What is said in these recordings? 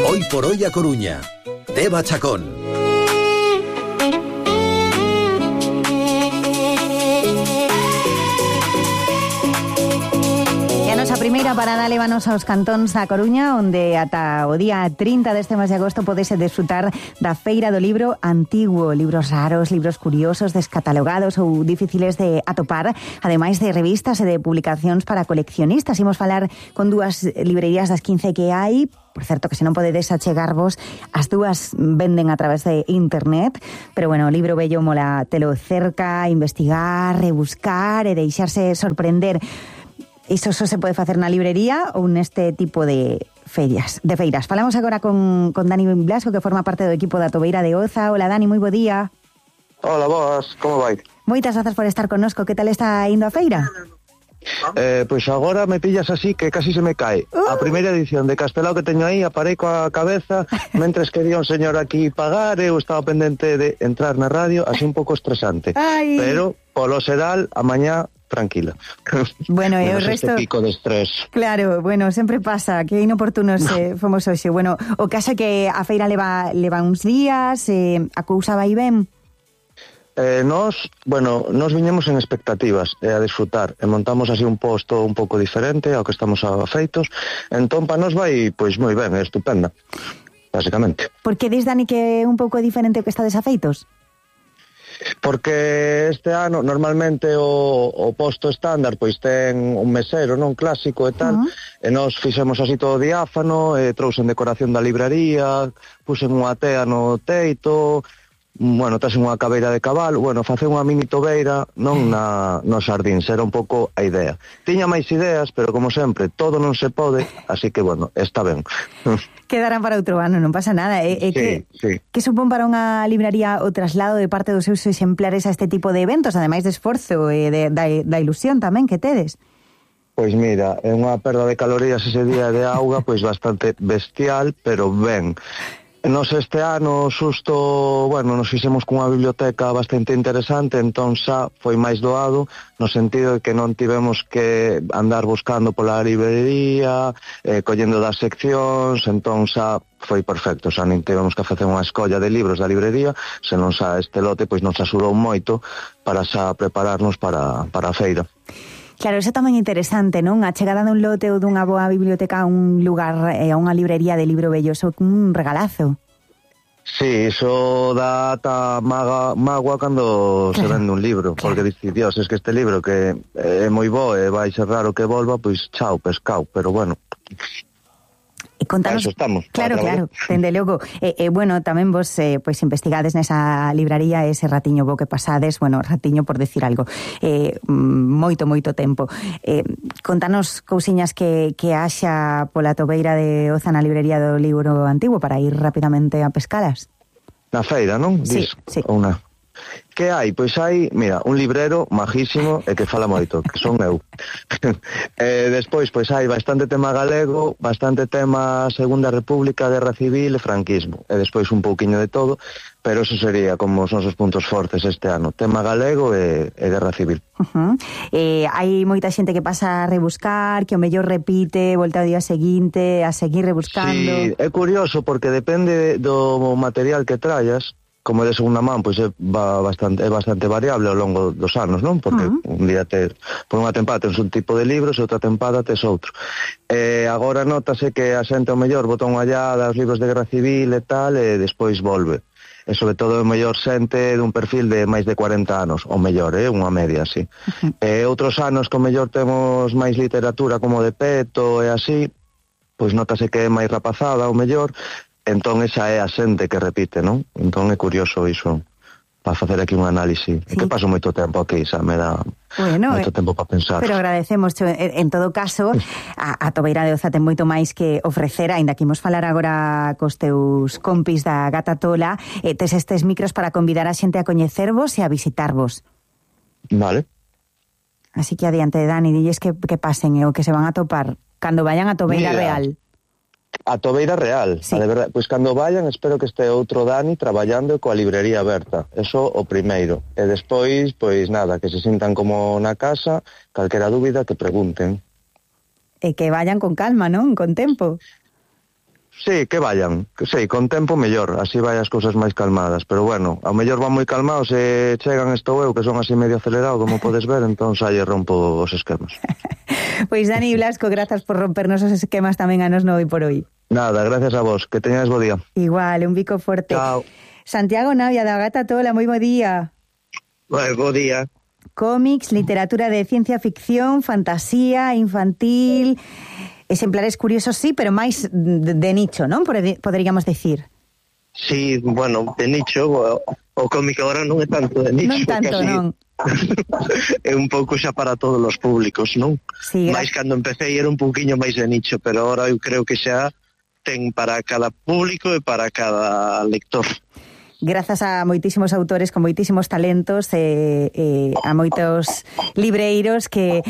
Hoy por hoy a Coruña. Deva Chacón. A primeira parada lévanos aos cantóns da Coruña, onde ata o día 30 deste mes de agosto podese desfrutar da Feira do Libro Antiguo. Libros raros, libros curiosos, descatalogados ou difíciles de atopar, ademais de revistas e de publicacións para coleccionistas. Imos falar con dúas librerías das 15 que hai. Por certo, que se non podedes achegarvos, as dúas venden a través de internet, pero bueno, o libro bello mola telo cerca, investigar, rebuscar e deixarse sorprender. Iso só se pode facer na librería ou neste tipo de feiras. Falamos agora con Dani Blasco, que forma parte do equipo da Tobeira de Oza. Hola, Dani, moi bo día. Hola, boas, como vai? Moitas grazas por estar connosco. Que tal está indo a feira? Pois agora me pillas así que casi se me cae. A primeira edición de Castelao que teño aí, aparei coa cabeza, mentres que dio un señor aquí pagar, eu estaba pendente de entrar na radio, así un pouco estresante. Ay. Pero, polo xeral, a mañá tranquila. Bueno, e o resto... Este pico de estrés. Claro, bueno, sempre pasa, que inoportunos fomos hoxe. Bueno, o caso é que a feira leva uns días, a cousa vai ben? Nos viñemos en expectativas a disfrutar e montamos así un posto un pouco diferente ao que estamos afeitos, entón pa nos vai pois moi ben, é estupenda, basicamente. Por que dis, Dani, que é un pouco diferente o que estades afeitos? Porque este ano normalmente o posto estándar pois ten un mesero non clásico e tal, e nós fixemos así todo diáfano, trouxen decoración da libraría, puxen unha tea no teito, bueno, traxen unha cabeira de cabalo, bueno, facer unha mini tobeira non no xardín, era un pouco a idea. Tiña máis ideas, pero como sempre, todo non se pode, así que, bueno, está ben. Quedarán para outro ano, non pasa nada. Sí. Que supón para unha libraría o traslado de parte dos seus exemplares a este tipo de eventos, ademais de esforzo e da ilusión tamén que tedes? Pois mira, é unha perda de calorías ese día de auga, pois bastante bestial, pero ben. Nos este ano xusto, bueno, nos fixemos cunha biblioteca bastante interesante, entón xa foi máis doado, no sentido de que non tivemos que andar buscando pola librería, collendo das seccións, entón xa foi perfecto, xa nin tivemos que facer unha escolla de libros da librería, senón xa este lote pois nos axudou moito para xa prepararnos para a feira. Claro, eso tamén é interesante, non? A chegada dun lote ou dunha boa biblioteca a un lugar, a unha librería de libro bello, eso é un regalazo. Sí, iso dá ata mágoa cando se vende un libro, porque dice, Dios, es que este libro que é moi bo e vai ser raro que volva, pois chao, pescao, pero bueno... Contanos, eso estamos. Claro, dende logo. Bueno, tamén vos pois investigades nesa libraría ese ratiño bo que pasades, bueno, ratiño por decir algo, moito tempo. Contanos cousiñas que haxa pola Tobeira de Oza na librería do Libro Antigo para ir rapidamente a pescalas. Na feira, non? Sí. Ou na... Que hai? Pois hai, mira, un librero majísimo e que fala moito, que son eu. Despois, pois hai bastante tema galego, bastante tema Segunda República, Guerra Civil e franquismo. E despois un pouquiño de todo, pero eso sería como os nosos puntos fortes este ano. Tema galego e Guerra Civil. Hai moita xente que pasa a rebuscar, que o mellor repite, volta ao día seguinte, a seguir rebuscando. Sí, é curioso porque depende do material que traias. Como de segunda man, pois é bastante variable ao longo dos anos, non? Porque un día por unha tempada tens un tipo de libros e outra tempada tes outro. Agora notase que a xente ao mellor bota unha ollada aos libros de Guerra Civil e tal, e despois volve. E sobre todo o mellor xente dun perfil de máis de 40 anos, o mellor, unha media así. Outros anos que o mellor temos máis literatura como de Peto e así, pois notase que é máis rapazada o mellor. Entón esa é a xente que repite, non? Entón é curioso iso, para facer aquí un análise. Sí. Que paso moito tempo aquí, xa me dá moito tempo para pensar. Pero agradecemos, en todo caso, a Tobeira de Oza ten moito máis que ofrecer, aínda que imos falar agora cos teus compis da Gata Tola, tes estes micros para convidar a xente a coñecervos e a visitarvos. Vale. Así que adiante, Dani, dilles que pasen o que se van a topar cando vayan a Tobeira Real. A Tobeira Real, sí. De verdade, pois cando vayan espero que este outro Dani traballando coa librería aberta, eso o primeiro, e despois, pois nada, que se sintan como na casa, calquera dúbida que pregunten. E que vayan con calma, non? Con tempo. Sí, que vayan, que sei, con tempo mellor, así vai as cousas máis calmadas, pero bueno, ao mellor van moi calmados e chegan estou eu, que son así medio acelerado, como podes ver, entón xa lle rompo os esquemas. Pois Dani Blasco, grazas por rompernos os esquemas tamén a nos no Hoy por Hoy. Nada, gracias a vos, que teñades bo día. Igual, un bico forte. Chao. Santiago Navia, da Gata Tola, moi bo día. Bo día. Cómics, literatura de ciencia ficción, fantasía, infantil, exemplares curiosos, sí, pero máis de nicho, non? Poderíamos decir. Sí, bueno, de nicho, o cómic agora non é tanto de nicho. Non tanto, casi, non. É un pouco xa para todos os públicos, non? Sí, máis cando empecé era un pouquiño máis de nicho, pero agora eu creo que xa ten para cada público e para cada lector. Grazas a moitísimos autores con moitísimos talentos a moitos libreiros que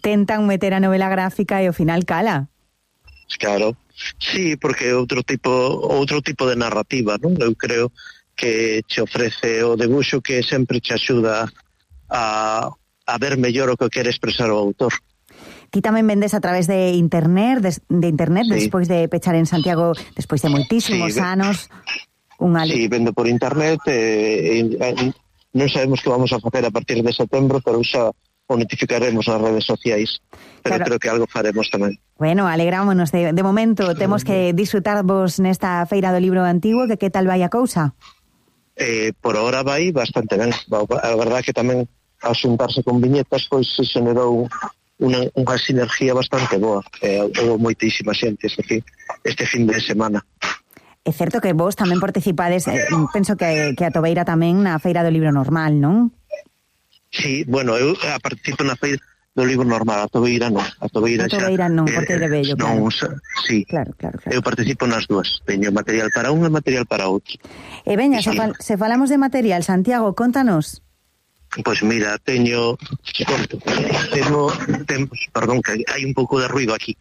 tentan meter a novela gráfica e ao final cala. Claro, sí, porque é outro tipo de narrativa, non? Eu creo que che ofrece o debuxo que sempre che axuda a ver mellor o que quere expresar o autor. Ti tamén vendes a través de internet, sí. Despois de pechar en Santiago, despois de moitísimos anos. Sí, vendo por internet, non sabemos que vamos a facer a partir de setembro, pero xa o notificaremos nas redes sociais, pero claro, creo que algo faremos tamén. Bueno, alegrámonos, de momento temos que disfrutarvos nesta Feira do Libro Antigo, que tal vai a cousa? Por ahora vai bastante ben, a verdad que tamén ao xuntarse con viñetas, pois se generou unha sinergia bastante boa, houve moitísima xente este fin de semana. É certo que vos tamén participades, penso que a Tobeira tamén na Feira do Libro Normal, non? Sí, bueno, eu participo na Feira do Libro Normal, a Tobeira non. A Tobeira non, porque é de bello, claro. Sí, claro. Eu participo nas dúas, teño material para un e material para outro. E veña, se falamos de material, Santiago, contanos. Pois mira, perdón, que hai un pouco de ruido aquí.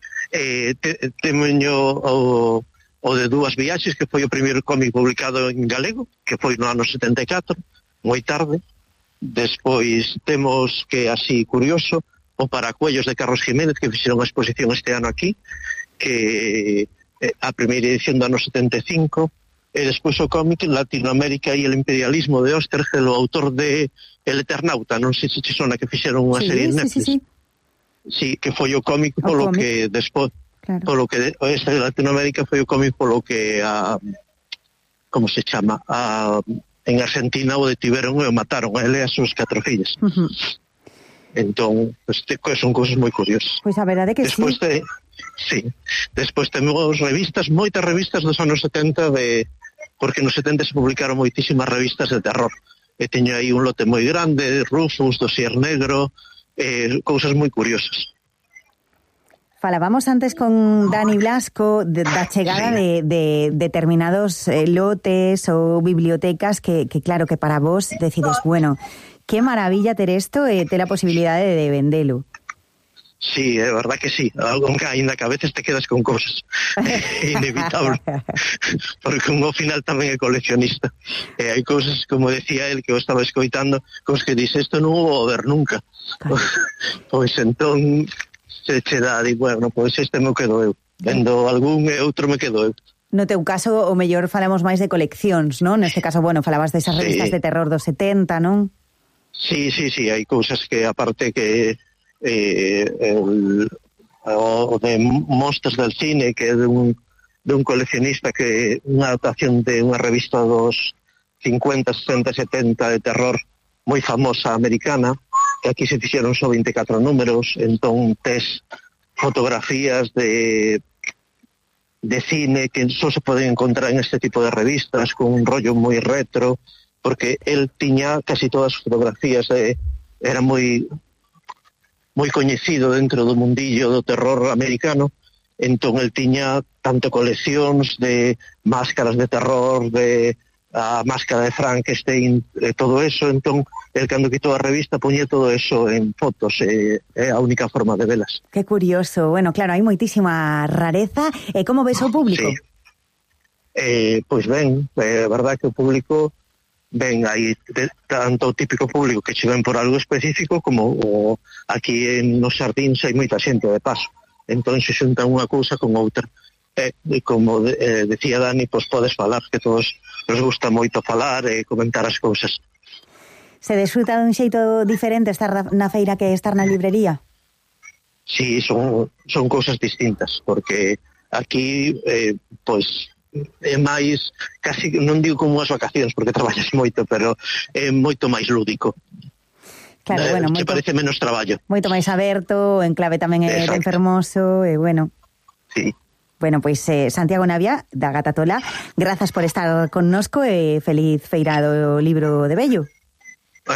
Teño o de Dúas viaxes, que foi o primeiro cómic publicado en galego, que foi no ano 74, moi tarde. Despois temos, que así curioso, o Paracuellos de Carlos Jiménez, que fixeron a exposición este ano aquí, que a primeira edición do ano 75, e despois o cómic en Latinoamérica e el imperialismo de Oesterheld, o autor de El Eternauta, non sei se che sona, que fixeron unha serie en Netflix. Sí, que foi o cómic polo que despois... Claro. Polo que este de Latinoamérica foi o cómic polo que como se chama, en Argentina o detiveron e o mataron a ele e as súas 4 fillas. Entón, son cousas moi curiosas. Pois a verdade que despois despois temos revistas, moitas revistas dos anos 70 porque nos 70 se publicaron moitísimas revistas de terror. E teño aí un lote moi grande, Rufus, Dosier Negro, cousas moi curiosas. Falábamos antes con Dani Blasco da chegada de determinados lotes ou bibliotecas que claro, que para vos decides, bueno, que maravilla ter isto e ter a posibilidade de vendelo. Sí, é verdad que sí, algo que ainda que a veces te quedas con cosas, inevitable, porque ao final tamén é coleccionista, e hai cousas, como decía él, que eu estaba escoitando, cosas que dice, isto non vou ver nunca, pois entón se che dá, e bueno, pois este me quedo eu, vendo algún e outro me quedo eu. No teu caso, o mellor falamos máis de coleccións, non? Neste caso, bueno, falabas desas revistas de terror dos 70, non? Sí, hai cousas que, aparte que o de Monsters del Cine, que é de un coleccionista, que unha adaptación de unha revista dos 50, 60, 70 de terror moi famosa americana, que aquí se fixeron só 24 números, entón tes fotografías de cine que só se poden encontrar en este tipo de revistas, con un rollo moi retro, porque el tiña casi todas as fotografías, era moi coñecido dentro do mundillo do terror americano, entón el tiña tanto coleccións de máscaras de terror, de a máscara de Frankenstein, todo eso, entón el cando quitou a revista poñía todo eso en fotos, é a única forma de velas. Que curioso, bueno, claro, hai moitísima rareza, e como ves o público? Sí. Pois ben, é verdad que o público ben, hai tanto o típico público que che ven por algo específico, como aquí nos xardíns hai moita xente de paso, entón se xunta unha cousa con outra. como decía Dani, pois podes falar, que todos nos gusta moito falar e comentar as cousas. Se desfruta dun xeito diferente estar na feira que estar na librería? Sí, son cousas distintas, porque aquí, pois, é máis, casi, non digo como as vacacións, porque traballas moito, pero é moito máis lúdico. Claro, bueno, moito, parece menos traballo. Moito máis aberto, en clave tamén é de fermoso, e bueno. Sí. Bueno, pois Santiago Navia, da Gata Tola, grazas por estar connosco e feliz feira do libro de Bello.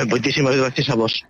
Moitísimas gracias a vos.